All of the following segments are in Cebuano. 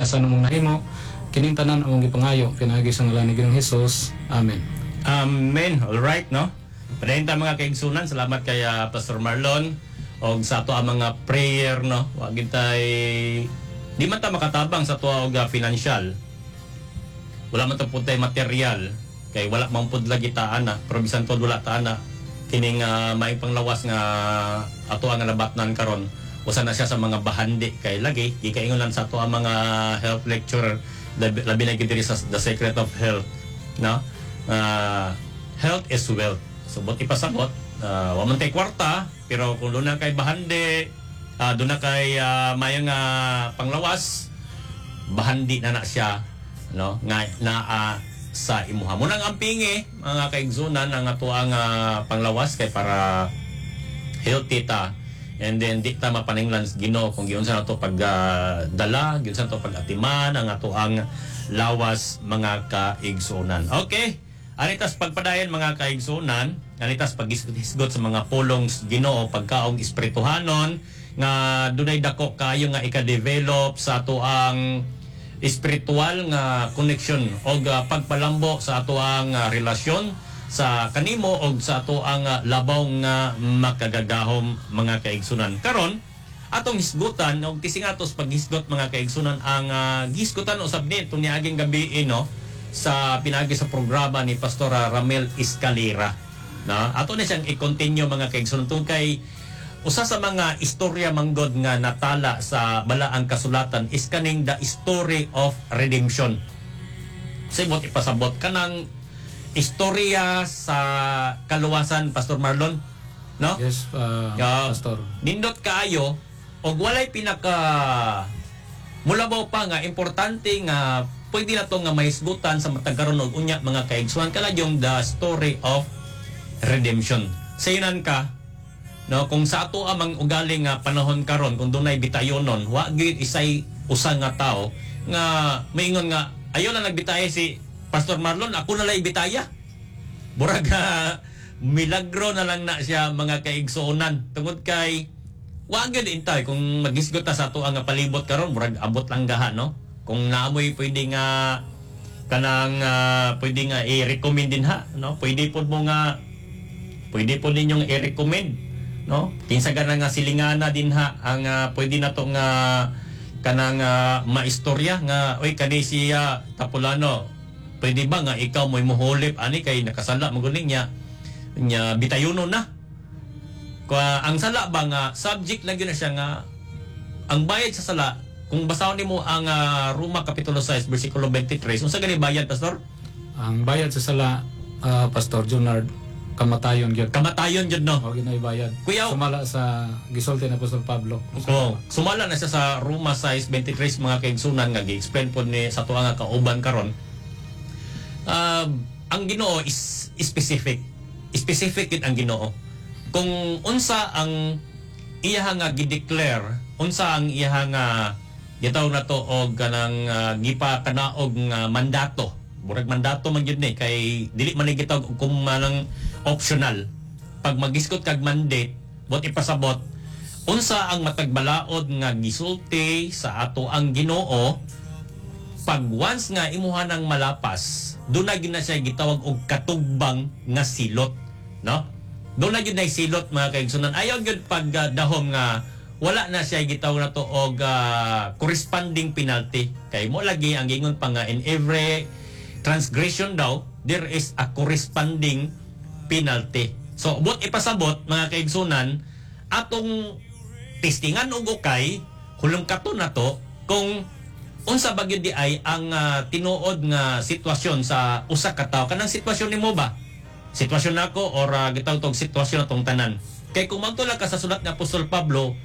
asa namong nahimo. Kining tanan among gipangayo pinaagi sa ngalan ni Ginoong Hesus. Amen. Amen. All right, no? Padayon ta, mga kaigsunan. Salamat kay Pastor Marlon og sa ato ang mga prayer, no? Wa gid tay, di man ta makatabang sa ato og financial. Wala man ta pud tay material kay wala man pud lagi ta ana, pero bisan tuod wala ta ana, kining maayong panglawas nga ato ang nabatnan karon, usa na siya sa mga bahandi kay lagi gikaingon sa ato ang mga health lecturer, labi na gid diri sa The Secret of Health, no? Health is wealth. So buot ipasabot, wa man tay kwarta, pero kung duna kay bahandi, duna kay maayong panglawas, bahandi na na siya, no, nga naa sa imuha mo nang ampingi, mga kaigsunan, ang atoang panglawas kay para healthy ta and then di ta mapaninglan sa Ginoo kung giunsa nato pag dala, giunsa nato pag-atiman ang atoang lawas, mga kaigsunan. Okay, anitas pagpadayon, mga kaigsunan, anitas paghisgot sa mga pulong sa Ginoo, pagkaong espirituhanon nga dunay dako kayo nga ika-develop sa atoang espiritual nga connection o pagpalambo sa atoang relasyon sa kanimo og sa atoang labaw nga makagagahom, mga kaigsunan. Karon atong hisgutan og tisingatos paghisgot, mga kaigsunan, ang gisgutan usab ni itong niaging gabi, no, sa pinagi sa programa ni Pastora Ramel Escalera. Na ato na siyang i-continue, mga kaigsunan, tungkol kay usa sa mga istorya manggod nga natala sa Balaang Kasulatan is kaning the story of redemption. Sibot ipasabot kanang istorya sa kaluwasan, Pastor Marlon, no? Yes, Pastor. Nindot kaayo og walay pinaka mulabaw pa nga importante nga pwede na to nga mahisgutan sa matag karon og unya, mga kaigsuan, kala yung the story of redemption. Sayunan ka, no, kung sa ato amang ugali nga panahon karon, kung dunay bitayonon, wa gyud isay usa nga tawo nga maingon nga ayo na nagbitaya si Pastor Marlon, ako na lay bitaya. Murag milagro na lang na siya, mga kaigsuonan, tungod kay wa gyud intay. Kung maghisgot ta sa ato ang palibot karon, murag abot lang gaha, no, kung naamoy pwede nga kanang pwede nga i-recommend din ha, no, pwede pod mo nga pwede po ninyong i-recommend, no, kinsa gana nga silingana din ha ang pwede na to nga kanang maistorya nga, "Oy, kani siya Tapulano, pwede ba nga ikaw mo'y muhulip ani kay nakasala mo guning niya nya bitayuno na?" Kwa ang sala ba nga subject lang yun na siya nga ang bayad sa sala, kung basahon nimo ang Roma kapitulo 6 bersikulo 23, unsa gani bayad, Pastor? Ang bayad sa sala, Pastor Junard, kamatayon gyud. Kamatayon jud, no? Mao gyud na bayad. Kuya, Sumala sa gisulti ni Apostol Pablo. Oh, sumala na siya sa Roma 6:23, mga kaigsunan, nga gi-explain po ni sa tuwa nga kauban karon. Ang Ginoo is specific. Specific gid ang Ginoo. Kung unsa ang iyaha nga gi-declare, unsa ang iyaha nga gitawag na to og kanang gipakanaog nga mandato. Murag mandato man gyud ni kay dili man ni gitawag og kung manang optional. Pag magisgot kag mandate, bot ipasabot unsa ang matag balaod nga gisulti sa ato ang Ginoo, pag once nga imuha ng malapas, doon na gyud na siya gitawag og katugbang nga silot, no? Doon na gyud na silot, mga kaigsunan. Ayaw gyud pag dahom nga wala na siya gitawag na to og corresponding penalty, kay mo lagi ang gingon pa nga in every transgression daw there is a corresponding penalty. So but ipasabot, mga kaigsunan, atong testingan og ukay hulong kato na to kung unsa ba gyud di ay ang tinuod nga sitwasyon sa usa ka tawo, kanang sitwasyon nimo ba, sitwasyon nako, or gitawag tog sitwasyon atong tanan. Kay kung magtula ka sa sulat ni Apostol Pablo,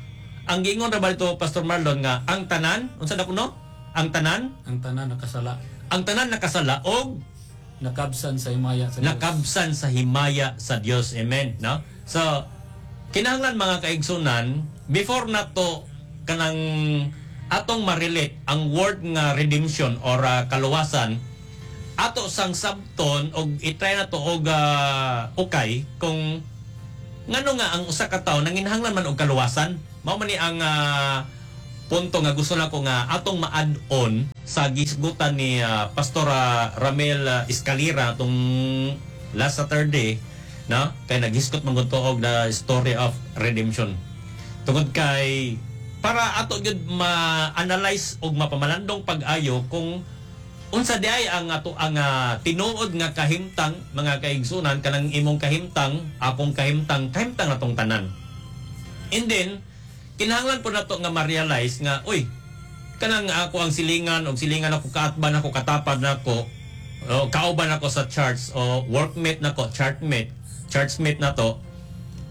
ang giingon ra ba dito, Pastor Marlon, nga ang tanan, unsa na kuno ang tanan? Ang tanan nakasala. Ang tanan nakasala og nakabsan sa himaya sa Dios. Nakabsan sa himaya sa Dios. Amen, no? So kinahanglan, mga kaigsunan, before nato kanang atong ma-relate ang word nga redemption or kaluwasan, ato sang sabton og i-try na to og ukay kung ngano nga ang usa ka tawo nanginahanglan man og kaluwasan. Mao man ni ang punto nga gusto nako nga atong ma-add on. sa gisgutan ni Pastor Ramel Escalera tong last Saturday, no, kay naghisgot man gud to og the story of redemption tungod kay para ato gyud ma-analyze og mapamalandong pag-ayo kung unsa di ay ang ato ang tinuod nga kahimtang, mga kaigsunan. Kanang imong kahimtang, akong kahimtang, kahimtang natong tanan. And then kinahanglan po nato nga ma-realize nga, uy, kanang ako ang silingan og silingan ako, kaatban ako, katapad nako o kauban ako sa church o workmate nako, churchmate na to,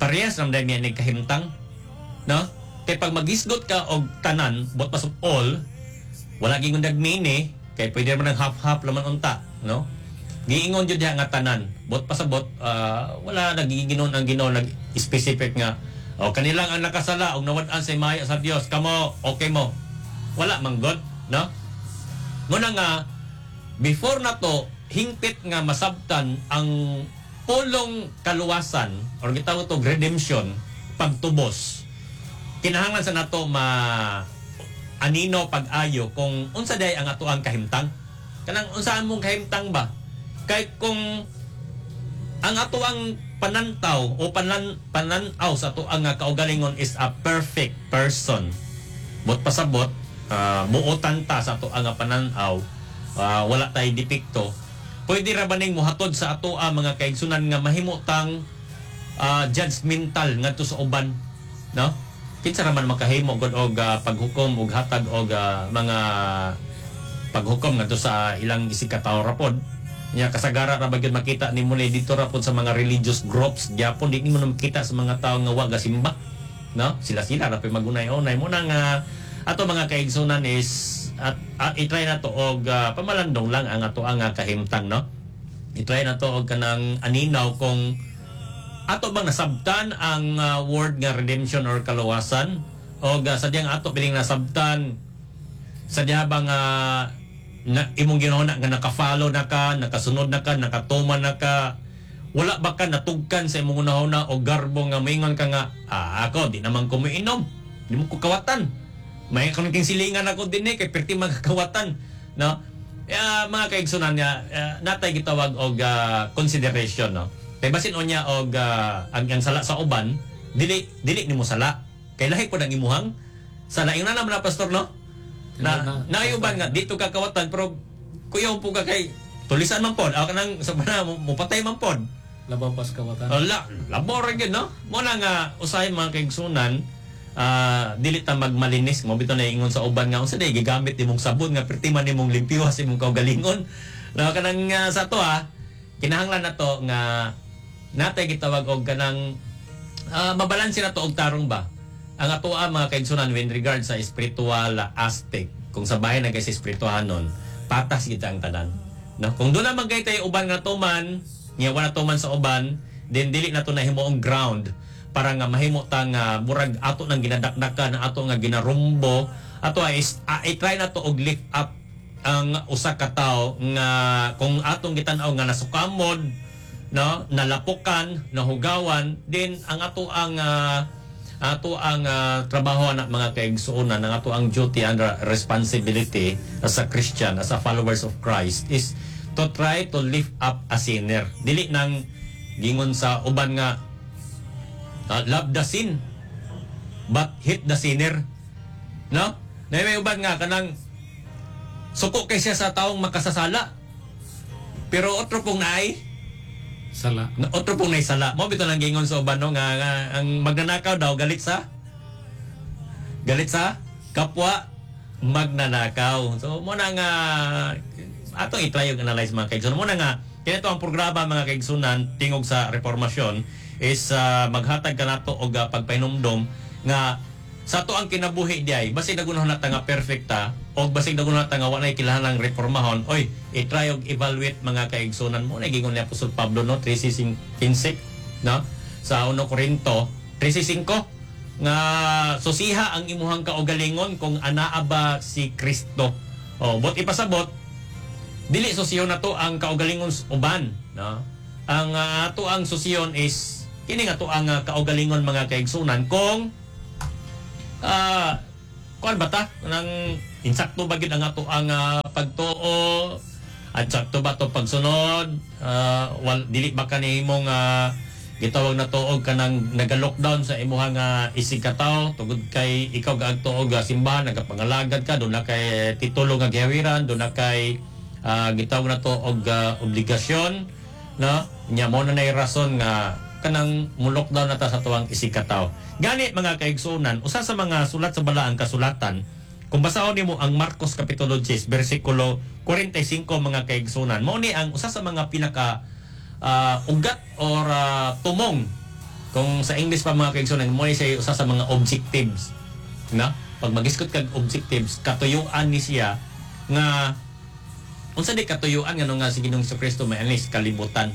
parehas lang dahil niya kahimtang, no? Kay pag maghisgot ka og tanan, but pasok all, wala gingon nagmini kay pwede man ng half-half laman unta, no? Giingon jud diha nga tanan, bot pasabot, wala nagiginon ang Ginoo nag specific nga o kanilang ang nakasala og nawad-an sa himaya sa Dios, kamo okay mo, wala man god, no? Muna nga before na to hingpit nga masabtan ang pulong kaluwasan or gitawag to redemption, pagtubos, kinahanglan sa nato ma anino pag-ayo kung unsa day ang ato ang kahimtang, kanang unsaan mong kahimtang ba. Kay kung ang ato ang panantaw o panan-aw sa ato ang kaugalingon is a perfect person, but pasabot, buotan ta sa ato ang panan-aw, wala tay depekto, pwede ra ba ning mohatod sa ato ang mga kaigsunan nga mahimutang judgmental ngadto sa uban, no? Kinsa ra man makahimo gud og paghukom og hatag og mga paghukom ngadto sa ilang isig ka tawo ra pod nya? Kasagara ra ba gyud makita nimo ni dito ra pod sa mga religious groups gyapon, di nimo na makita sa mga tawo nga wa gasimba, no? Sila sila ra pay magunay-unay mo na nga ato mga kaigsunan is at i-try na to og pamalandong lang ang ato ang kahimtang, no? I-try na to og kanang aninaw kung ato bang nasabtan ang word nga redemption or kaluwasan o sadyang ato piling nasabtan, sadya bang na, imong ginahuna nga naka-follow na ka, nakasunod na ka, nakatuman na ka, wala ba ka natugkan sa imong hunahuna o garbo nga moingon ka nga, "Ah, ako di naman ko moinom, di mo ko kawatan, may kanang king silingan ako din eh kay perti magkawatan," no? Mga kaigsunan nga natay gitawag og consideration, no? Kay basin unya og ang sala sa uban, dili dili nimo sala kay lahi pod ang imuhang sala. Ingon na naman na, pastor, no, na na- naay uban nga dito ka kawatan pero kuyaw po ka kay tulisan man pod ako kanang sa pana mo patay man pod. Labaw pas kawatan. Wala, labor ra gyud, no? Mo na nga usahay, mga kaigsunan, dili ta magmalinis mo bitaw na ingon sa uban nga unsa day gigamit nimong sabon nga perti man nimong limpyuha sa imong kaugalingon, no? Kanang sa to kinahanglan na to nga natay gitawag og kanang mabalanse na to og tarong ba ang atoa, mga kaigsunan, when regard sa spiritual aspect. Kung sa bahay na kay sa espirituhanon, patas kita ang tanan, no? Kung doon naman kay tayo uban nga tuman nga wala tuman sa uban, then dili na to nahimuong ground para nga mahimo ta nga murag ato nang ginadakdakan, ato nga ginarumbo ato is i-try na to og lift up ang usa ka tawo nga kung atong gitan-aw nga nasukamod, no, nalapukan, nahugawan din. Ang ato ang trabaho na, mga kaigsuonan, ang ato ang duty and responsibility as a Christian, as a followers of Christ, is to try to lift up a sinner. Dili nang gingon sa uban nga love the sin but hate the sinner, no? Na may uban nga kanang suko kay siya sa taong makasasala pero otro pong naay Sala. Na, otro pong naisala. Mo bitaw lang gingon sa uban, no, nga ang magnanakaw daw galit sa kapwa magnanakaw. So mo na nga atong i-try og analyze, mga kaigsunan. Mo na nga kini ang programa, mga kaigsunan, Tingog sa Reformasyon, is maghatag ka nato og pagpahinumdom nga sa ato ang kinabuhi diay, basig nagunahon na ta nga perfecta og basig nagunahon na ta nga wa nay kinahanglang reformahon, oy, i-try og evaluate, mga kaigsunan. Mo na gingon ni Apostol Pablo, no, 13:15, no, sa 1 Corinto 13:5 nga susiha ang imuhang kaugalingon kung anaa ba si Kristo. O bot ipasabot, dili susiyon na to ang kaugalingon sa uban, no? Ang ato ang susiyon is kini nga to ang kaugalingon, mga kaigsunan, kung kuan ba ta nang Insakto ba gyud ang ato ang pagtuo? At sakto ba to pagsunod? Wal, dili ba kanimong gitawag na tuog kanang naga-lockdown sa imuha nga isig katawo tungod kay ikaw gaagtuo og simbahan, nagapangalagad ka, doon na kay titulo nga gihawiran, doon na kay gitawag na to og obligasyon, no? Nya mo na nay rason nga kanang mo-lockdown na ta sa tuwang isig katawo. Gani, mga kaigsuonan, usa sa mga sulat sa Balaang Kasulatan, kung basahon nimo ang Marcos kapitulo 10 bersikulo 45, mga kaigsuonan, mao ni ang usa sa mga pinaka ugat or tumong, kung sa English pa, mga kaigsuonan, mo ni siya usa sa mga objectives, no? Pag magisgot kag objectives, katuyuan ni siya nga unsa di katuyuan ngano nga si Ginoong Kristo may anis kalibutan,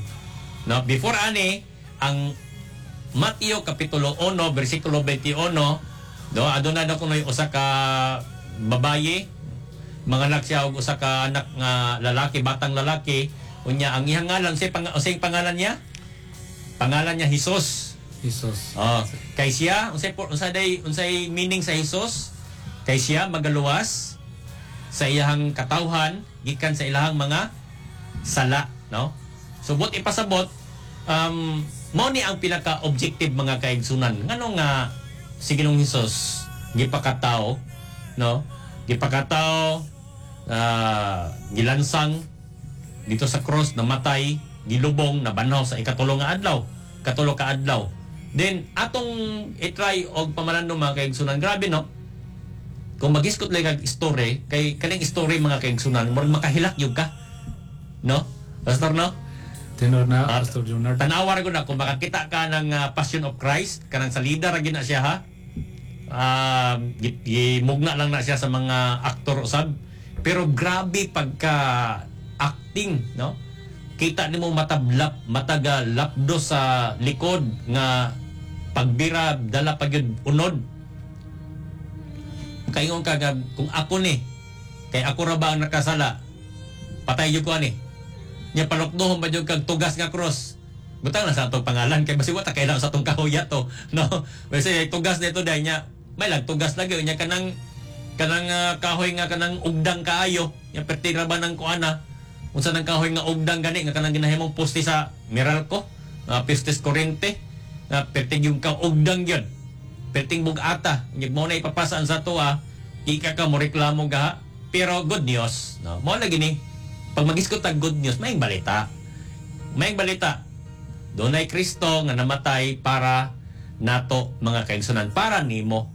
no? Before ani, ang Mateo kapitulo 1 bersikulo 21, no, aduna na kunoy usa ka babaye, manganak siya og usa ka anak nga lalaki, batang lalaki. Unya ang iyang ngalan, unsay pangalan niya? Pangalan niya Jesus. Jesus. Oh, kay siya unsay unsa day unsay meaning sa Jesus? Kay siya magaluwas sa iyang katawhan gikan sa ilahang mga sala, no? So but ipasabot, mao ni ang pinaka-objective, mga kaigsunan, ngano nga si Ginoong Hesus gipakatao, no? Gipakatao, gilansang dito sa cross, namatay, gilubong, nabanhaw sa ikatulo nga adlaw, katulo ka adlaw. Then atong i-try og pamalandong, mga kaigsunan, grabe, no? Kung magisgot lang kag story, kay kaning story, mga kaigsunan, murag makahilak gyud ka, no, Pastor, no? Tinuod na, Pastor Junard. Tanawa ra gud na kung makakita ka ng Passion of Christ, kanang sa leader ra gyud na siya, ha. Gimugna lang na siya sa mga aktor usab. Pero grabe pagka acting, no? Kita nimo matablap, mataga lapdo sa likod nga pagbira dala pa gyud unod. Kaingon ka nga, kung ako ni, kay ako ra ba ang nakasala? Patay gyud ko ani. Nya palukdohon ba gyud kag tugas nga cross? Butang na sa atong pangalan kay basi wa ta kailangan sa atong kahuya to, no? Basi tugas nito dahil nya may lag tugas lagi nya kanang kanang kahoy nga kanang ugdang kaayo nya perti ra ba ng kuana, unsa nang kahoy nga ugdang gani nga kanang ginahimong poste sa Meralco, postes kuryente nga perti yung ka ugdang gyud, perting bugata nya mo na ipapasaan sa tuwa, ika ka mo reklamo ga. Pero good news, no? Mo lagi ni pag magisgot tag good news, may balita, may balita. Dunay Kristo nga namatay para nato, mga kaigsunan, para nimo.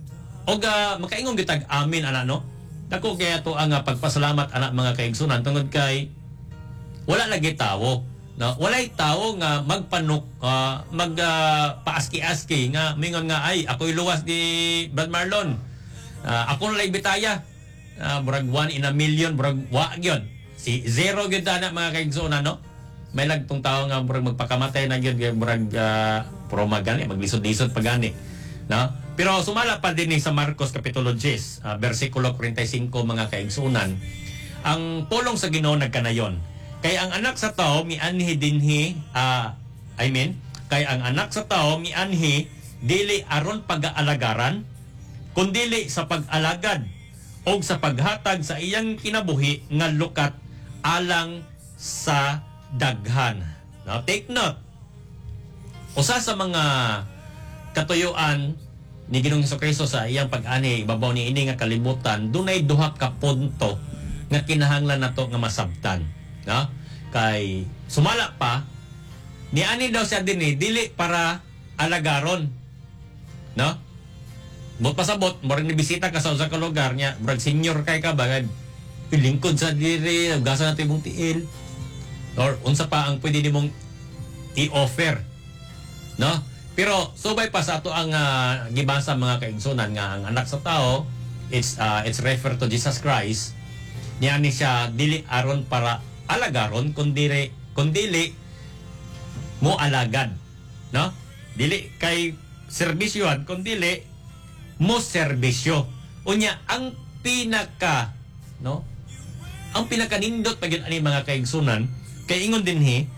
Og makaingon gyud tag amen ana, no? Dako kaya to ang pagpasalamat ana, mga kaigsunan, tungod kay wala lagi tawo, no? Walay tawo nga magpanuk mag paaski-aski nga mingon nga, "Ay, ako'y luwas ni Brad Marlon. Ako na bitaya." Murag one in a million, murag wa gyud. Si zero gyud ana, mga kaigsunan, no? May lagtong tao nga murag magpakamatay na gyud kay murag puro magani maglisod-lisod pa gani, no? Pero sumala pa din ni sa Marcos kapitulo 10, bersikulo 45, mga kaigsunan, ang pulong sa Ginoo nagkanayon, kay ang Anak sa Tao mianhi dinhi, I mean, kay ang Anak sa Tao mianhi dili aron pag-aalagaran kundili sa pag-alagad og sa paghatag sa iyang kinabuhi nga lukat alang sa daghan. Now, take note. Usa sa mga katuyuan ni Ginoong Kristo sa iyang pag-ani ibabaw ni ini nga kalibutan, dunay duha ka punto nga kinahanglan nato nga masabtan, no? Kay sumala pa niani daw siya dinhi dili para alagaron, no? Bot pasabot, murag ni bisita ka sa usa ka lugar niya, murag senior kay ka ba, lingkod sa diri, gasa na imong tiil. Or unsa pa ang pwede nimong i-offer, no? Pero subay pa sa ato ang gibasa, mga kaigsunan, nga ang Anak sa Tao, it's refer to Jesus Christ. Niani siya dili aron para alagaron kundili mo alagad, no? Dili kay serbisyohan kundili mo serbisyo. Unya ang pinaka, no? Ang pinakanindot pa gyud ani, mga kaigsunan, kay ingon dinhi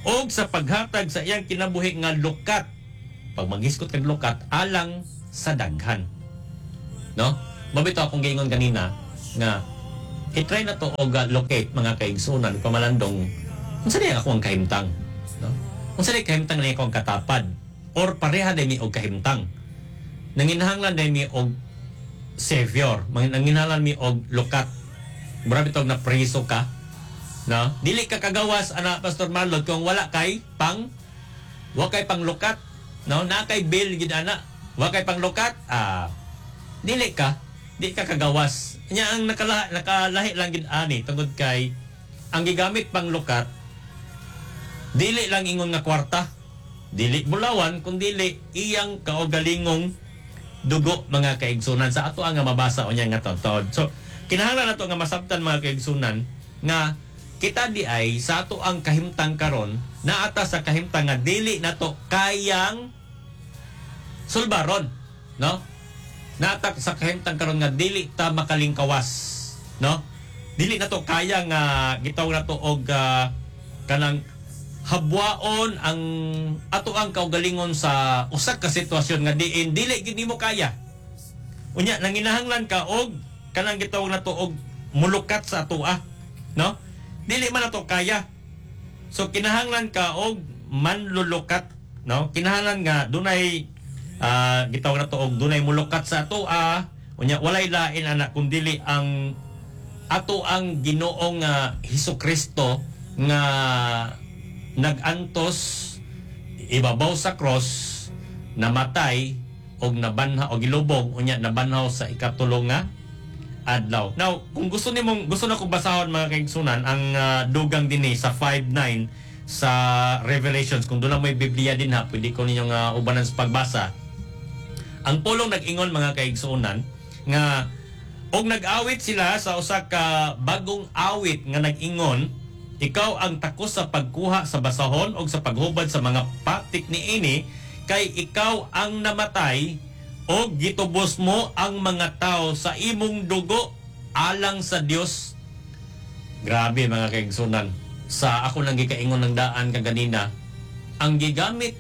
og sa paghatag sa iyang kinabuhi nga lukat, pag magisgot kag lukat, alang sa daghan, no? Mabito akong giingon kanina. nga i-try na to og locate, mga kaigsunan, pamalandong unsa diay ako ang kahimtang, no? Unsa diay kahimtang ni ako ang katapad or pareha day mi og kahimtang, nanginahanglan day mi og savior, nanginahanglan mi og lukat. Mura bitog na preso ka, no? Dili ka kagawas ana, Pastor Marlon, kung wala kay pang wa kay panglukat, no? Na kay bill gid ana, wa kay panglukat, dili ka di ka kagawas nya. Ang nakalahi lang gid ani tungod kay ang gigamit panglukat dili lang ingon nga kwarta, dili bulawan, kun dili iyang kaugalingong dugo, mga kaigsunan, sa ato ang nga mabasa unya nga tuod. So kinahanglan nato nga masabtan, mga kaigsunan, nga kita di ay sa ato ang kahimtang karon naata sa kahimtang nga dili nato kayang sulbaron, no? Naata sa kahimtang karon nga dili ta makalingkawas, no? Dili nato kaya nga gitawag nato og kanang habwaon ang ato ang kaugalingon sa usa ka sitwasyon nga diin dili gid nimo kaya. Unya nanginahanglan ka og kanang gitawag nato og mulukat sa atoa, no? Dili man nato kaya. So kinahanglan ka og manlulukat, no? Kinahanglan nga dunay gitawag nato og dunay mulukat sa atoa. Unya walay lain ana kun dili ang ato ang Ginoong Hesus Kristo nga nagantos ibabaw sa cross, namatay og nabanhaw og gilubong, unya nabanhaw sa ikatulo nga adlaw. Now, kung gusto nimong gusto na kong basahon, mga kaigsunan, ang dugang dinhi sa 5:9 sa Revelations, kung doon lang may Biblia din ha, pwede ko ninyong ubanan sa pagbasa. Ang pulong nag-ingon, mga kaigsunan, nga og nag-awit sila sa usa ka bagong awit nga nag-ingon, "Ikaw ang takos sa pagkuha sa basahon og sa paghubad sa mga patik niini, kay ikaw ang namatay og gitubos mo ang mga tao sa imong dugo alang sa Dios." Grabe, mga kaigsunan. Sa ako nang gikaingon ng daan kaganina, ang gigamit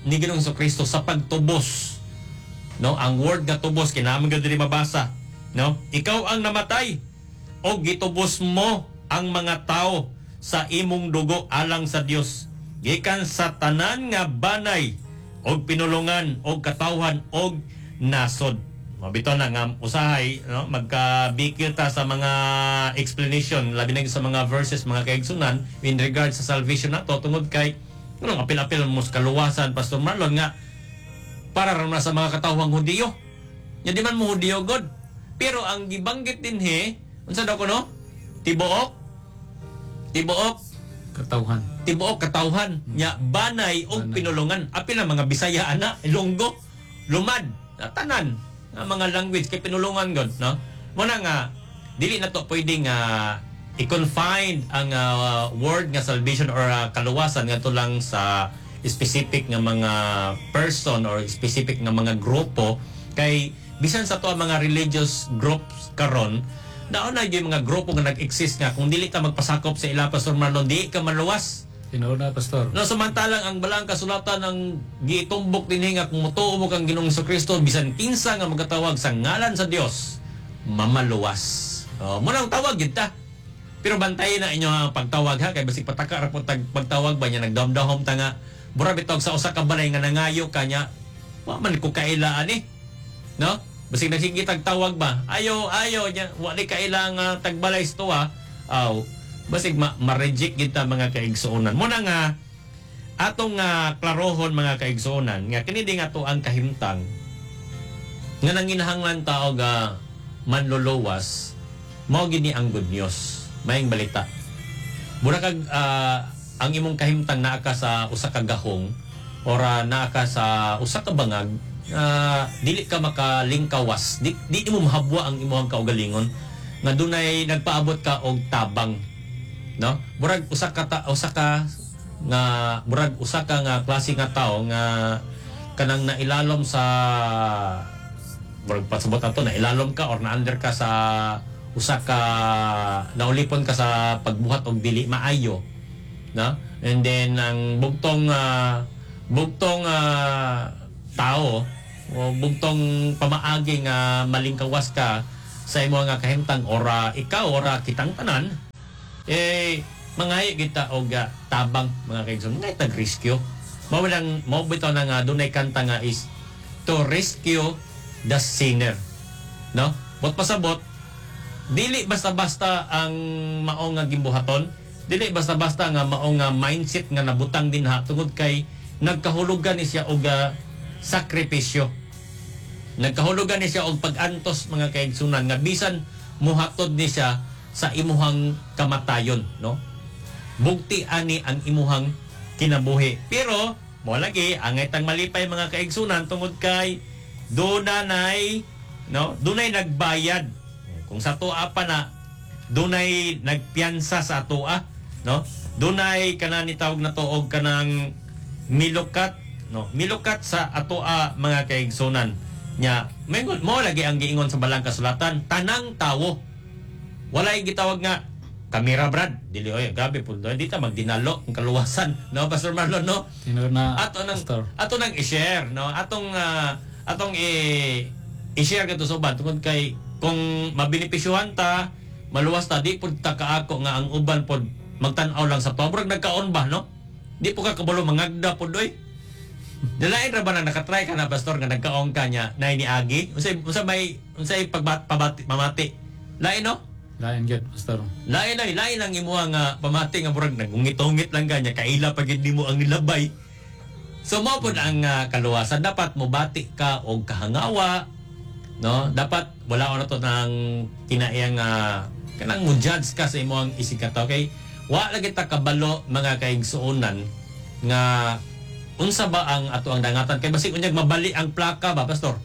ni Ginoong Kristo sa pagtubos, no? Ang word nga tubos kinahanglan gyud diri mabasa, no? Ikaw ang namatay og gitubos mo ang mga tao sa imong dugo alang sa Dios gikan sa tanan nga banay og pinulungan og katawhan og nasod. Mabito na nga usahay, no, magkabikil ta sa mga explanation, labi na sa mga verses, mga kaigsunan, in regard sa salvation nato, tungod kay ano apil-apil mo sa kaluwasan, Pastor Marlon, nga para ra na sa mga katawhang Hudiyo. Nya di man mo Hudiyo god. Pero ang gibanggit dinhi, unsa daw kuno? Tibuok tibuok Katawhan. Tibuok katawhan nya banay og Banay. pinulungan. Apil ang mga Bisaya ana, Ilonggo, Lumad, tanan nga mga language kay pinulungan god, no? Muna nga dili na to pwede nga i-confine ang word nga salvation or kaluwasan ngadto lang sa specific nga mga person or specific nga mga grupo, kay bisan sa to ang mga religious groups karon, naon na yung mga grupo nga nag-exist nga kung dili ka magpasakop sa ila, Pastor Marlon, di ka maluwas. Tinuod na, Pastor. No, samantalang ang balaang kasulatan ang giitumbok dinhi nga kung motuo mo kang Ginoong Kristo, bisan kinsa nga magatawag sa ngalan sa Dios, mamaluwas. Oh, mo nang tawag gid ta. Pero bantayin na inyo ang pagtawag ha, kay basig pataka ra pud pagtawag ba niya, nagdamdahom ta nga mura bitog sa usa ka balay nga nangayo ka niya, wa man ko kaila ani. No? Basig nagsige tag tawag ba? Ayo, ayo nya, wa ni kaila nga tagbalay sa tuwa. Aw, basig ma-reject kita, mga kaigsuonan. Muna nga atong klarohon, mga kaigsuonan, nga kini di nga to ang kahimtang nga nanginahanglan tao ga manluluwas, mao gini ang good news, maayong balita. Mura kag ang imong kahimtang naa ka sa usa ka gahong or naa ka sa usa ka bangag, dili ka makalingkawas, di mo mahabwa ang imong kaugalingon nga dunay nagpaabot ka og tabang, no? Murag usa ka ta, usa ka nga murag usa ka nga klase nga tao nga kanang nailalom sa, murag pasabot ato, nailalom ka or na-under ka sa usa ka, naulipon ka sa pagbuhat og dili maayo, no? And then ang bugtong bugtong tao o bugtong pamaagi nga malingkawas ka sa sa imo nga kahimtang ora ikaw ora kitang tanan eh mangayo kita og tabang mga kaigsoon, ngay tag rescue. Mao lang mao bitaw na nga dunay kanta nga is to rescue the sinner, no? Bot pasabot dili basta-basta ang mao nga gimbuhaton, dili basta-basta nga mao nga mindset nga nabutang dinha tungod kay nagkahulugan ni siya og sakripisyo. Nagkahulugan ni siya og pag-antos mga kaigsunan nga bisan muhatod ni siya sa imuhang kamatayon, no? Bugti ani ang imuhang kinabuhi. Pero mo lagi angay tang malipay mga kaigsunan tungod kay dunay, no? Dunay nagbayad. Kung sa tuwa pa na dunay nagpiyansa sa atoa, no? Dunay kana ni tawag na to og kanang milukat, no? Milukat sa atoa mga kaigsunan. Nya, mo lagi ang giingon sa balang kasulatan, tanang tawo. Walay gitawag nga kamera brad, dili oy, grabe pud di ta magdinalo ang kaluwasan, no Pastor Marlon, no? Tinuod na, ato nang Pastor. Ato nang i-share, no? Atong atong i-share kadto sa uban tungod kay kung mabenepisyuhan ta, maluwas ta, di pud ta kaako nga ang uban pod magtan-aw lang sa tuwa. Murag nagkaon ba, no? Di po ka kabalo mangagda pod oy. Dalain ra ba na nakatry ka na pastor nga nagkaon ka niya na niagi? Unsay unsa may unsay pagbat pabati mamati? Lain, no? Lain gyud, Pastor. Lain ay lain ang imuha nga pamati nga murag nagungit-ungit lang kanya kaila pa gid nimo ang nilabay. So mao pod ang kaluwasan, dapat mobati ka og kahangawa, no? Dapat wala na to nang kinaiyang kanang mo judge ka sa imong isig ka, okay? Wa lagi ta kabalo mga kaigsuonan nga unsa ba ang ato ang dangatan kay basig unyag mabali ang plaka ba, pastor?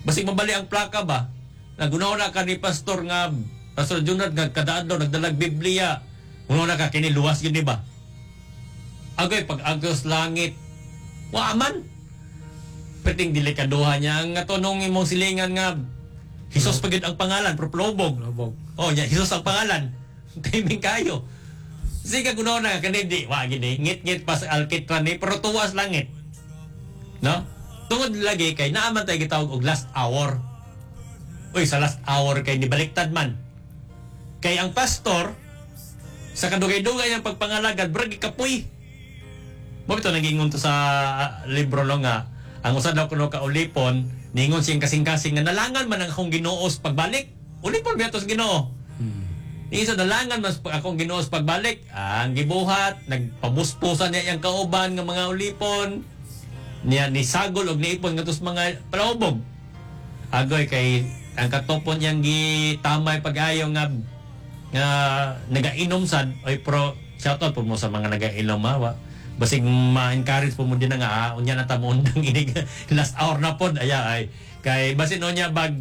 Basig mabali ang plaka ba? Nagunaw na ka ni pastor nga Pastor Junard nga kada adlaw nagdalag Biblia. Uno na ka kini luwas gyud ni ba? Agay pag agos langit wa man. Perting delikaduha niya ang ato nung imong silingan nga Hesus pa gyud ang pangalan, pero plobog. Lobog. Oh, nya Hesus ang pangalan. Timing kayo. Sige gunaw na kani di wa gini ngit-ngit pa sa alkitran ni pero tuwas langit. No? Tungod lagi kay naa man tay gitawag og last hour. Uy, sa last hour kay nibaliktad man. Kay ang pastor sa kadugay-dugay ang pagpangalagad brag kapoy. Mo bitaw nagingon to sa libro no nga ang usa daw kuno ka ulipon ningon siyang kasing-kasing nga nalangan man ang akong Ginoo sa pagbalik. Ulipon biya to sa Ginoo. Isa nalangan mas akong Ginoo sa pagbalik. Ang gibuhat nagpabuspusan niya iyang kauban nga mga ulipon. Niya ni sagol og niipon ngadto sa mga palahubog. Agoy kay ang katopon niyang gitamay pag-ayo nga nga nagainom sad oy pro shout out po mo sa mga nagainom ha. Basig ma-encourage po mo din na nga unya na ta mo undang inig last hour na pod aya ay kay basin unya bag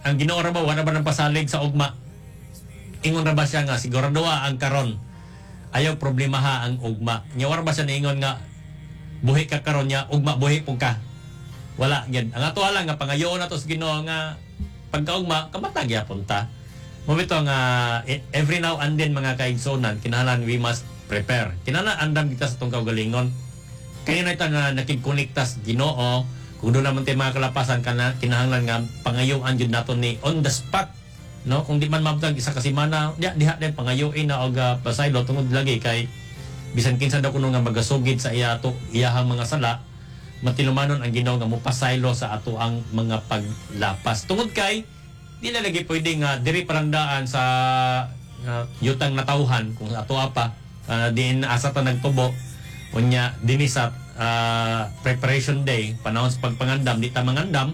ang Ginoo ra ba wala ba nang pasalig sa ugma. Ingon ra ba siya nga siguradoa ang karon ayaw problema ha ang ugma. Nya wala ba siya niingon nga buhi ka karon nya ugma buhi pud ka. Wala gyud. Ang ato lang nga pangayoon nato sa Ginoo nga pagkaugma kamatag gyapon ta. Mo bitaw nga every now and then mga kaigsunan kinahanglan we must prepare. Kinahanglan andam kita sa tong kaugalingon. Kaya na ita nga nakigkonekta sa Ginoo. Kung doon naman tayo mga kalapasan kana kinahanglan nga pangayuan jud nato ni on the spot, no? Kung di man mabtag isa ka semana, diha diha din pangayuin na og pasaylo tungod lagi kay bisan kinsa daw kuno nga magasugid sa iya to iyahang mga sala, matilumanon ang Ginoo nga mopasaylo sa ato ang mga paglapas. Tungod kay di na lagi pwede nga diri parang daan sa yutang natawhan kung ato pa diin asa ta nagtubo unya dinhi sa preparation day panahon sa pagpangandam di ta mangandam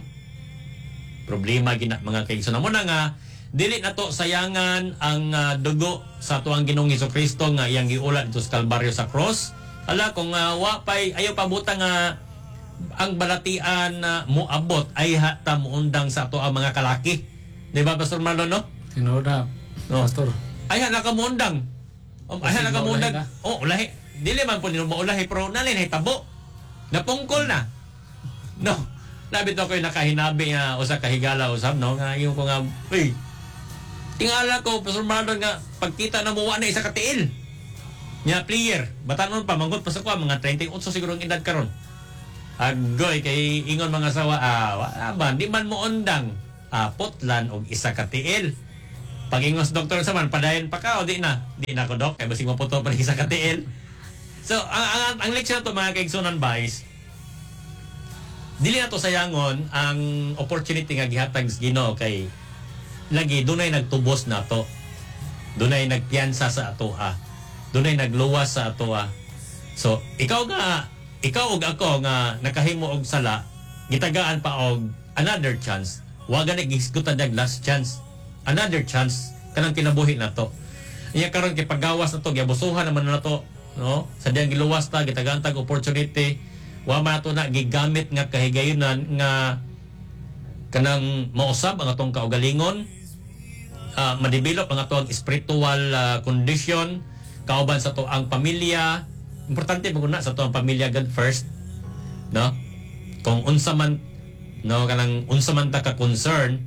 problema gina mga kaigsoon. Mo na nga dili na to sayangan ang dugo sa tuang Ginoong Hesukristo nga iyang giulat dito sa Kalbaryo sa cross. Ala kung wa pay ayaw pabuta nga ang balatian na moabot ay hata muundang sa ato ang mga kalaki. Di ba Pastor Marlon, no? Tinuod na, No. Pastor. Ay na kamuundang. Ay na kamuundang. Oh, ulahi. Dili man po nino maulahi pero nalin hitabo. Napungkol na. No. Labi to ko'y nakahinabi nga usa ka higala usab no nga ingon ko nga uy. Tingala ko Pastor Marlon nga pagkita na mo wa na isa ka tiil. Nya player, batanon pa manggut pa sa kuha mga 38 siguro ang edad karon. Agoy kay ingon mga sawa, wala ba di man mo undang. putlan og isa ka tiil. Pag-ingos doktor sa man, padayon pa ka o di na? Di na ko, dok, kay basig maputol pa isa ka tiil. So, ang leksyon nato, mga kaigsunan ba, is dili na to sayangon ang opportunity nga gihatag sa Ginoo kay lagi dunay nagtubos nato. Dunay nagpiyansa sa atoa. Dunay nagluwas sa atoa. So, ikaw ug ako nga nakahimo og sala, gitagaan pa og another chance. Wa gani gihisgutan dag last chance. Another chance kanang kinabuhi nato. Iya karon kay paggawas nato, giabusuhan naman nato, no? Sa diyang giluwas ta, gitagaan tag opportunity, wa man nato na gigamit nga kahigayunan nga kanang mausab ang atong kaugalingon, madevelop ang atong spiritual condition kauban sa ato ang pamilya. Importante mo na sa ato ang pamilya, God first, no? Kung unsa man, no, kanang unsa man ta ka concern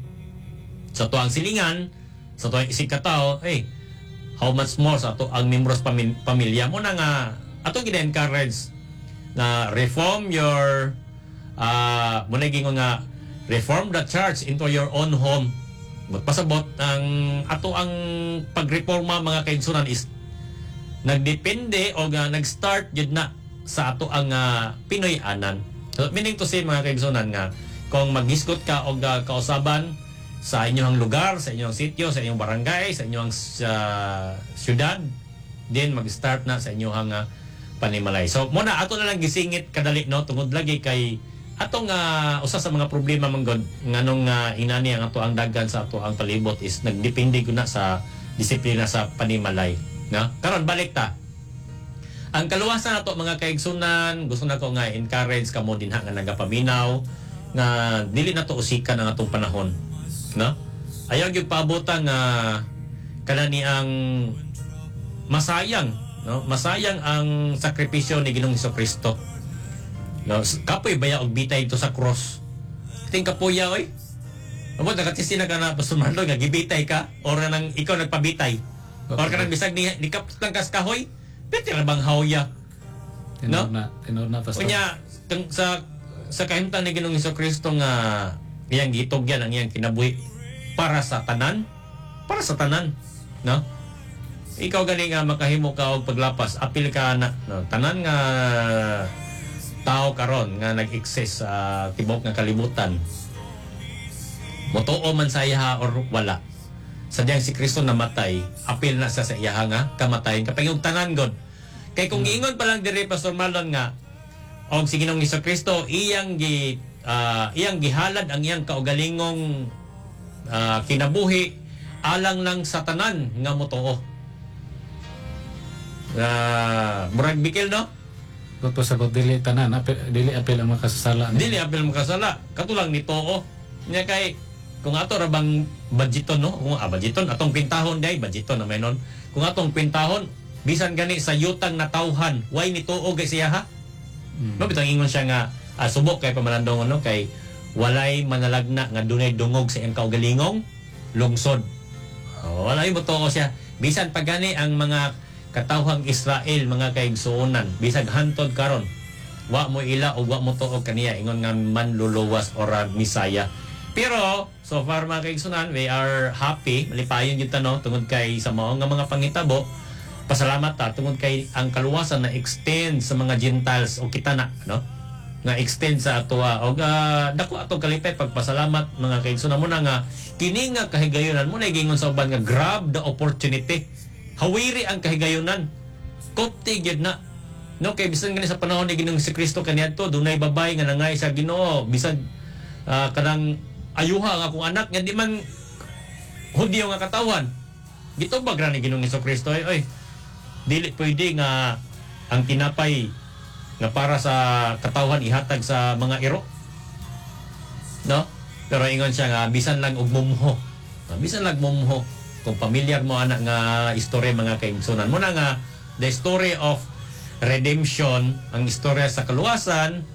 sa ato ang silingan, sa ato ang isig katao, hey, how much more sa ato ang membros pamilya mo na nga ato gina-encourage na reform your muna gingon nga reform the church into your own home. Magpasabot ang ato ang pagreforma, mga kaigsunan, is nagdepende o nga nag-start jud na sa ato ang Pinoy-anan. So, meaning to say, mga kaigsunan, nga kung maghisgot ka og kausaban sa inyong lugar, sa inyong sitio, sa inyong barangay, sa inyong syudad, then mag-start na sa inyong panimalay. So, muna ato na lang gisingit kadali, no, tungod lagi kay atong usa sa mga problema man gud nganong inani ang ato ang dagan sa ato ang palibot is nagdepende gud na sa disiplina sa panimalay, no? Karon balik ta. Ang kaluwasan nato, mga kaigsunan, gusto nako nga encourage kamo dinha nga nagapaminaw nga dili nato usikan ang atong panahon, no? Ayaw gyud paabutan nga kanani ang masayang, no? Masayang ang sakripisyo ni Ginoong Kristo. No, kapoy baya og bitay ito sa cross. Ting kapoya oy. Amo nakatisi na ka na, Pastor Marlon, nga gibitay ka or nang ikaw nagpabitay. Or kanang bisag ni kapot lang kas kahoy, pwede ra bang hawya? Tinuod na, tinuod na, Pastor. Unya sa kahimtang ni Ginoong Kristo nga iyang gitugyan ang iyang kinabuhi para sa tanan, no? Ikaw gani nga makahimo ka og paglapas, apil ka na, no? Tanan nga tao karon nga nag-exist sa tibuok nga kalibutan, motuo man sa iyaha or wala, sadyang si Kristo namatay, apil na sa iyaha nga kamatayon kapag yung tanan god. Kay kung giingon pa lang diri, Pastor Marlon, nga og si Ginoong Kristo iyang gihalad ang iyang kaugalingong kinabuhi alang lang sa tanan nga motuo. Murag bikil, no? Gusto sagot dili tanan, apil, dili apil ang makasasala. Dili apil makasala, katulang ni too. Nya kay kung ato ra bang budgeton, no? Kung budgeton atong kwentahon day, budgeton na may nun. Kung atong kwentahon bisan gani sa yutang natawhan, way ni tuo kay siya ha? No, bitang ingon siya nga subok kay pamalandong, no, kay walay manalagna nga dunay dungog sa iyang kaugalingong lungsod. Oh, walay mo tuo siya. Bisan pa gani ang mga katawhang Israel, mga kaigsuonan, bisag hantod karon, wa mo ila o wa mo tuo kaniya ingon nga manluluwas or Misaya. Pero so far, mga kaigsuonan, we are happy, malipayon gyud ta, no, tungod kay sa mao nga mga pangitabo. Pasalamat ta tungod kay ang kaluwasan na extend sa mga Gentiles o kita na, no, nga extend sa atoa og dako atong kalipay pagpasalamat, mga kaigsuonan. Mo na nga kini nga kahigayonan mo na giingon sa uban nga grab the opportunity. Hawiri ang kahigayunan. Kopti gyud na. No, kay bisan gani sa panahon ni Ginoong si Kristo kaniadto dunay babay nga nangay sa Ginoo, bisan kanang ayuha ang akong anak nga di man Hudyo nga katawan. Gitubag ra ni Ginoong Kristo, ay oy, dili pwede nga ang tinapay nga para sa katawhan ihatag sa mga iro. No? Pero ingon siya nga bisan lang og mumho. Bisan lang mumho. Kung pamilyar mo ana nga istorya, mga kaigsunan, mo na nga the story of redemption, ang istorya sa kaluwasan,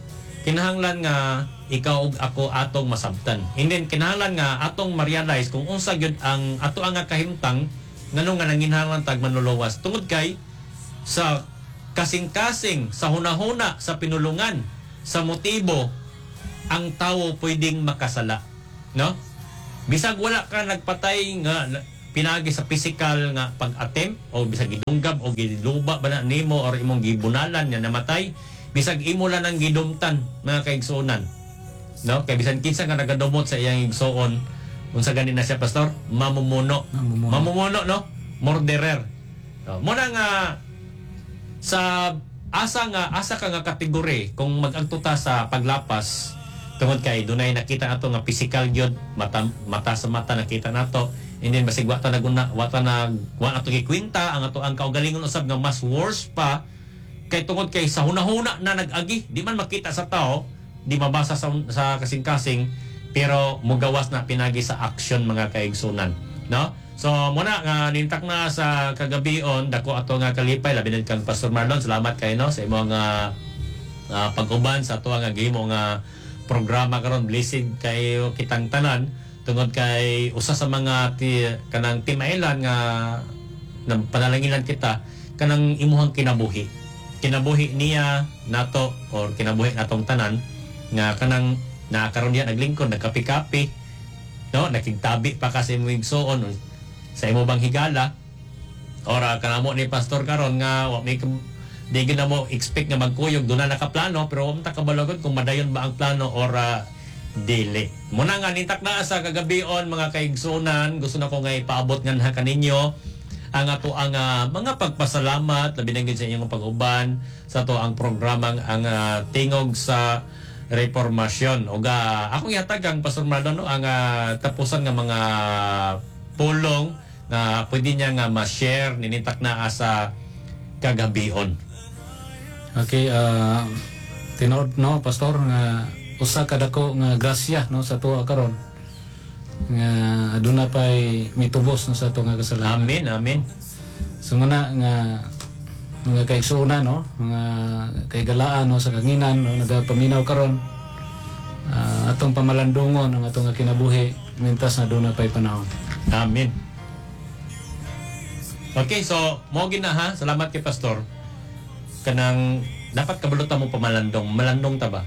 kinahanglan nga ikaw ug ako atong masabtan. And then kinahanglan nga atong ma-realize kung unsa gyud ang ato ang nga kahimtang nganong nga nanginahanglan tag manluluwas, tungod kay sa kasing-kasing, sa hunahuna, sa pinulungan, sa motibo, ang tawo pwedeng makasala, no? Bisag wala ka nagpatay nga pinaagi sa physical nga pag-attempt o bisag gidunggab o giluba ba na nimo or imong gibunalan nga namatay, bisag imo lang ang gidumtan, mga kaigsuonan, no? Kay bisan kinsa nga nagadumot sa iyang igsuon, unsa gani na siya, Pastor? Mamumuno. Mamumuno. Mamumuno, no? Murderer. No, muna nga sa asa nga asa ka nga kategory kung mag-agto ta sa paglapas, tungod kay dunay nakita nato nga physical gyud, mata, mata sa mata nakita nato, and then basig wa ta naguna, wa ta nag wa nato gikwenta ang ato ang kaugalingon usab nga mas worse pa, kay tungod kay sa hunahuna na nag-agi, di man makita sa tao, di mabasa sa kasing-kasing, pero mugawas na pinagi sa action, mga kaigsunan, no? So muna nga nintak na sa kagabion, dako ato nga kalipay, labi na kang Pastor Marlon. Salamat kay, no, sa imong pag-uban sa ato nga gihimo nga programa karon. Blessed kayo kitang tanan tungod kay usa sa mga kanang timailan nga na panalanginan kita kanang imuhang kinabuhi, kinabuhi niya nato or kinabuhi natong tanan nga kanang nakaron diya naglingkod, nagkapi-kapi, no, nakigtabi pa ka sa imong igsuon, sa imo bang higala or kanamo ni Pastor karon nga wa may di gyud na mo expect nga magkuyog, doon na nakaplano, pero wa man ta kabalo kung madayon ba ang plano or dili. Muna nga nintak na sa kagabion, mga kaigsunan, gusto na ko nga ipaabot nga na kaninyo ang ato ang mga pagpasalamat, labi na gyud sa inyong pag-uban sa ato ang programang ang Tingog sa Reformasyon. Ug akong ihatag ang Pastor Marlon, no, ang tapusan nga mga pulong nga pwede niya nga ma-share ninintak na sa kagabion. Okay, tinuod, no, Pastor, nga usa ka dako nga grasya, no, sa tuwa karon nga aduna pay mitubos, no, sa ato nga kasalanan. Amen, amen. So muna nga mga kaigsuonan, no, mga kaigalaan, no, sa kahanginan, no, nagapaminaw karon, atong pamalandungon ang atong nga kinabuhi mintas na aduna pay panahon. Amen. Okay, so mo gina ha. Salamat kay Pastor. Kanang dapat kabalo ta mo pamalandong. Malandong ta ba?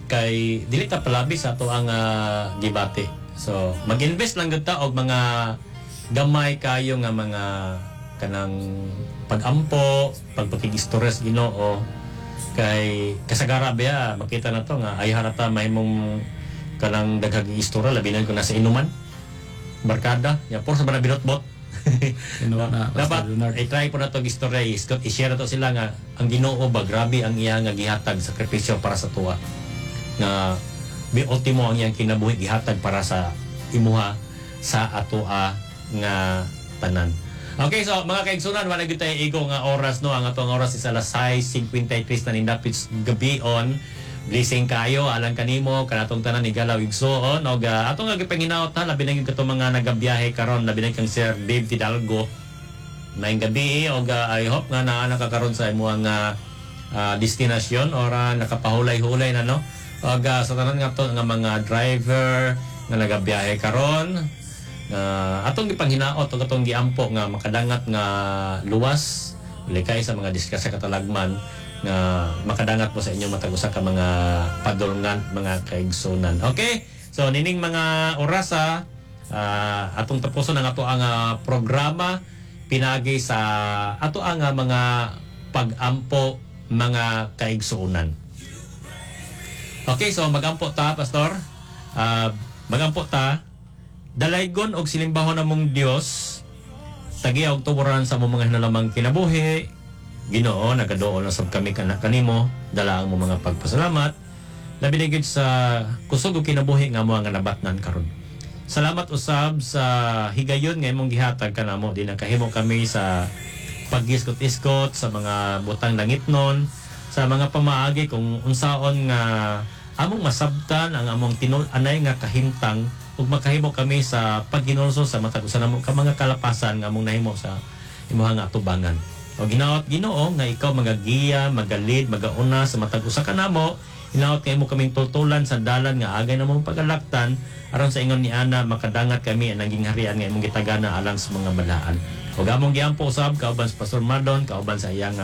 Kay dili ta palabi sa ato ang gibati. So, mag-invest lang gyud ta og mga gamay kayo nga mga kanang pag-ampo, pagpakigistorya sa Ginoo, kay kasagara biya makita na to nga ayaw na ta mahimong kanang daghang istorya, labi na kung nasa inuman barkada ya, por sa ba na binotbot. Tinuod na, Pastor Dapat Leonard. I-try po na to istorya, i-share na to sila nga ang Ginoo ba, grabe ang iya nga gihatag sakripisyo para sa tuwa, nga bi ultimo ang iyang kinabuhi gihatag para sa imuha, sa atoa nga tanan. Okay, so mga kaigsunan, wala gyud tayo igo nga oras, no. Ang atong oras is alas 6:53 na nindapit gabi on. Blessing kayo alang kanimo, kanatong tanan ni Galaw igsuon og atong nga gipanginaot ha, labi na gyud katong mga nagabiyahe karon, labi na kang Sir Dave Tidalgo. Maayong gabi og I hope nga naa na ka karon sa imong destinasyon or nakapahulay-hulay na, no. Og sa tanan nga to nga mga driver nga nagabiyahe karon, atong gipanghinaot ug atong giampo nga makadangat nga luwas, likay sa mga disgrasya katalagman, nga makadangat mo sa inyong matag usa ka mga padulngan, mga kaigsunan. Okay? So nining mga orasa, atong tapuson ang ato ang programa pinagi sa ato ang mga pag-ampo, mga kaigsuonan. Okay, so magampo ta, Pastor. Magampo ta. Dalaygon og silimbahon among Dios. Tagia og tuboran sa among mga hinalamang kinabuhi. Ginoo, nagaduol na sab kami kana kanimo, dala ang among mga pagpasalamat. Labi na gyud sa kusog og kinabuhi nga amo nga nabatnan karon. Salamat usab sa higayon nga imong gihatag kanamo, di nakahimo kami sa paggiskot-iskot sa mga butang langitnon, sa mga pamaagi kung unsaon nga among masabtan ang among tinul-anay nga kahimtang ug makahimo kami sa paghinulsol sa matag usa namo ka mga kalapasan nga among nahimo sa imuha nga atubangan. O ginaot, Ginoo, nga ikaw magagiya, magalid, magauna sa matag usa ka namo. Hinaot nga imo kaming tultulan sa dalan nga agay namong pagalaktan, aron sa ingon ni ana makadangat kami ang naging harian nga imong gitagana alang sa mga balaan. Ug among giampo usab kauban sa Pastor Marlon, kauban sa iyang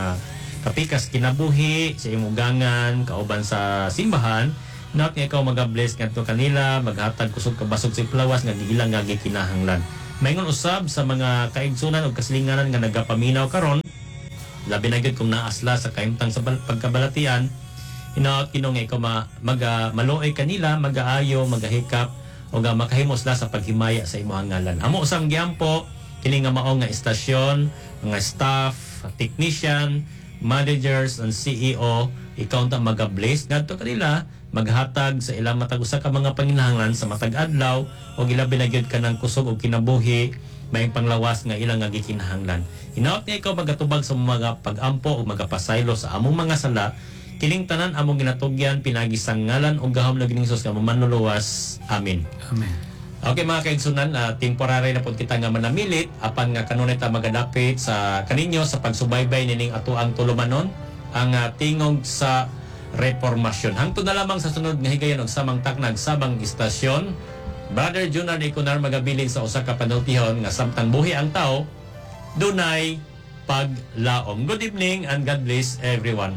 kapikas kinabuhi, sa imong ugangan, kauban sa simbahan, Not nga ikaw maga-bless ngadto kanila, maghatag kusog kabasog sa iplawas nga giilang nga gikinahanglan. Maingon usab sa mga kaigsunan o kasilinganan nga nagapaminaw karon, labi na gyud kung naasla sa kahimtang sa pagkabalatian, hinaot, Ginoo, nga ikaw maluoy kanila, magaayo, magahikap o nga makahimo sila sa paghimaya sa imong ngalan. Amo usang giampo kini nga mao nga istasyon, mga staff, technician, managers and CEO, ikaw unta maga-bless ngadto kanila, maghatag sa ilang matag usa ka mga panginahanglan sa matag adlaw o ilabi na gyud kanang kusog og kinabuhi, may panglawas nga ilang nga gikinahanglan. Hinaot nga ikaw magatubag sa mga pag-ampo o magapasaylo sa among mga sala. Kining tanan among ginatugyan pinaagi sa ngalan ug gahom ng Ginoong Hesus nga manluluwas. Amen. Amen. Okay, mga kaigsunan, temporary na pud kita nga manamilit apan nga kanunay ta magadapit sa kaninyo sa pagsubaybay nining atoang tulumanon, ang Tingog sa Reformasyon. Hangtod na lamang sa sunod nga higayon og samang taknag, samang istasyon. Brother Junard Iconar magabilin sa usa ka panultihon nga samtang buhi ang tao, dunay paglaom. Good evening and God bless everyone.